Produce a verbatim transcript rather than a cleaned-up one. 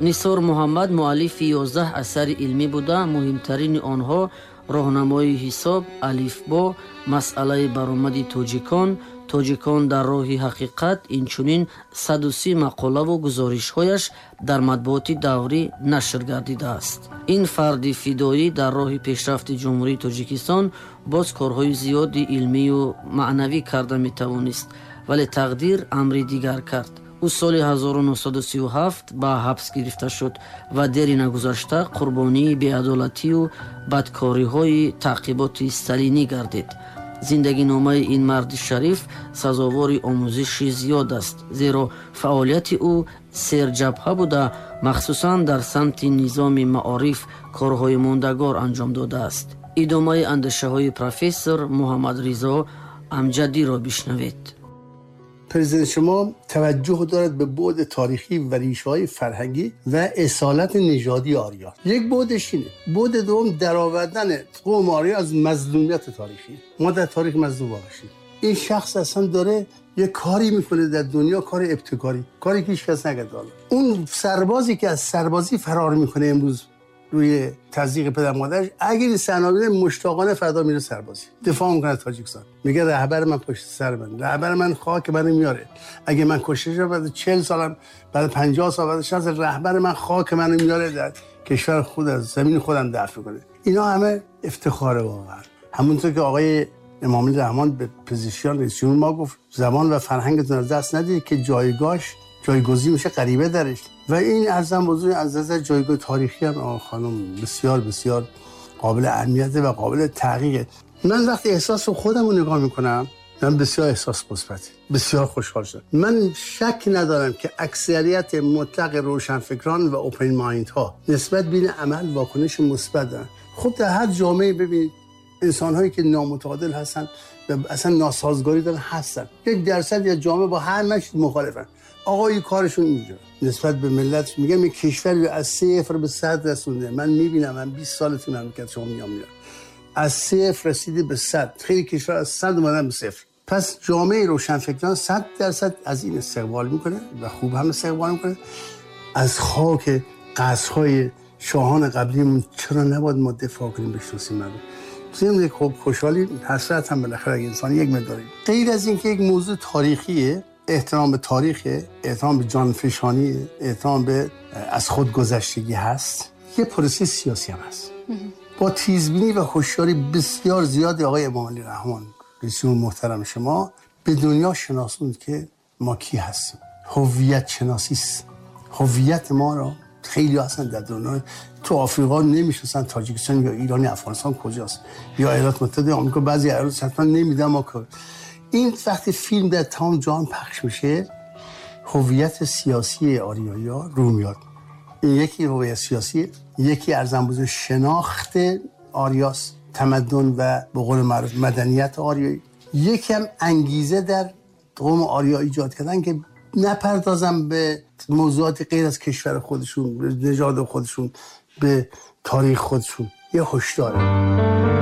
Нисор Муҳаммад муаллифи ёздаҳ асари илмӣ буда, муҳимтарини онҳо роҳнамои ҳисоб, алифбо, масъалаи баромади тоҷикон, тоҷикон дар роҳи ҳақиқат, инчунин саду си мақолаву гузоришҳояш дар матбуоти даврӣ нашр гардидааст. Ин фарди фидоӣ дар роҳи пешрафти Ҷумҳурии Тоҷикистон боз корҳои зиёди илмию маънавӣ карда метавонист, вале тақдир амри дигар кард. Ӯ соли ҳазору нӯҳсаду сию ҳафт ба ҳабс гирифта шуд ва дери нагузашта қурбонии беадолатию бадкориҳои таъқиботи сталинӣ гардид. Зиндагиномаи ин марди шариф сазовори омӯзиши зиёд аст, зеро фаъолияти ӯ серҷабҳа буда, махсусан дар самти низоми маориф корҳои мондагор анҷом додааст. Идомаи андешаҳои профессор Муҳаммадризо Амҷадиро бишнавед. پرزیدنت شما توجه دارد به بعد تاریخی و ریشه‌های فرهنگی و اصالت نژادی آریا. یک بعدش اینه. بعد دوم درآوردن قوم آریا از مظلومیت تاریخی. ما در تاریخ مظلوم واقع شدیم. این شخص اصلا داره یه کاری میکنه در دنیا، کار ابتکاری، کاری که هیچ کس نکرده. اون سربازی که از سربازی فرار میکنه امروز روی تضییق پدر مادرش، اگر این صحنه مشتاقانه فردا میره سربازی، دفاع میکنه از تاجیکستان، میگه رهبر من پشت سر من، رهبر من خاک منو میاره، اگه من کشته شدم بعد چهل سالم، بعد پنجاه سال، بعد شصت سال، رهبر من خاک منو میاره در کشور خود، از زمین خودم دفع میکنه. اینا همه افتخار واقعا. همونطور که آقای امام رحمان به پزشکیان رئیس جمهور ما گفت زبان و فرهنگتون از دست ندید که جایگاهش جایگزین میشه غریبه درش. و این ارزم بزرگ از نظر جایگاه تاریخی هم آقا خانم بسیار بسیار قابل اهمیت و قابل تحقیقه. من وقتی احساس خودم رو نگاه میکنم، من بسیار احساس مثبتی، بسیار خوشحال شدم. من شک ندارم که اکثریت مطلق روشنفکران و open mind ها نسبت به این عمل واکنش مثبت دارن. خب در هر جامعه ببینید انسان هایی که نامتعادل هستن و اصلا ناسازگاری دارن هستن. یک درصد یا جامعه با هر مش مخالفن. آقای کارشون اینجا نسبت به ملت، میگم این کشور رو از صفر به صد رسونده. من میبینم، من بیست سال تو مملکت شما میام میرم، از صفر رسیده به صد. خیلی کشور از صد اومدن به صفر. پس جامعه روشنفکران صد درصد از این استقبال میکنه و خوب هم استقبال میکنه. از خاک قصرهای شاهان قبلیمون چرا نباید ما دفاع کنیم، بشناسیم مردم؟ ضمن اینکه خب خوشحالی، حسرت هم بالاخره اگه انسان یک مقداری. غیر از اینکه یک موضوع تاریخیه، احترام به تاریخ، احترام به جانفشانی، احترام به از خود گذشتگی هست، یه پروسه سیاسی هم هست. با تیزبینی و هوشیاری بسیار زیادی آقای امامعلی رحمان رئیس جمهور محترم شما به دنیا شناسوند که ما کی هستیم. هویت شناسی است. هویت ما را خیلی اصلا در دنیا تو آفریقا نمیشناسن، تاجیکستان یا ایران یا افغانستان کجاست، یا ایالات متحده آمریکا، بعضی ایالات حتما نمیدونن ما کجا. این وقتی فیلم در تمام جهان پخش میشه، هویت سیاسی آریایی‌ها رو میاد. این یکی هویت سیاسی، یکی ارزان بزرگ شناخت آریاس، تمدن و به قول معروف مدنیت آریایی، یکی هم انگیزه در قوم آریا ایجاد کردن که نپردازم به موضوعات غیر از کشور خودشون، به نژاد خودشون، به تاریخ خودشون. یه هشداره.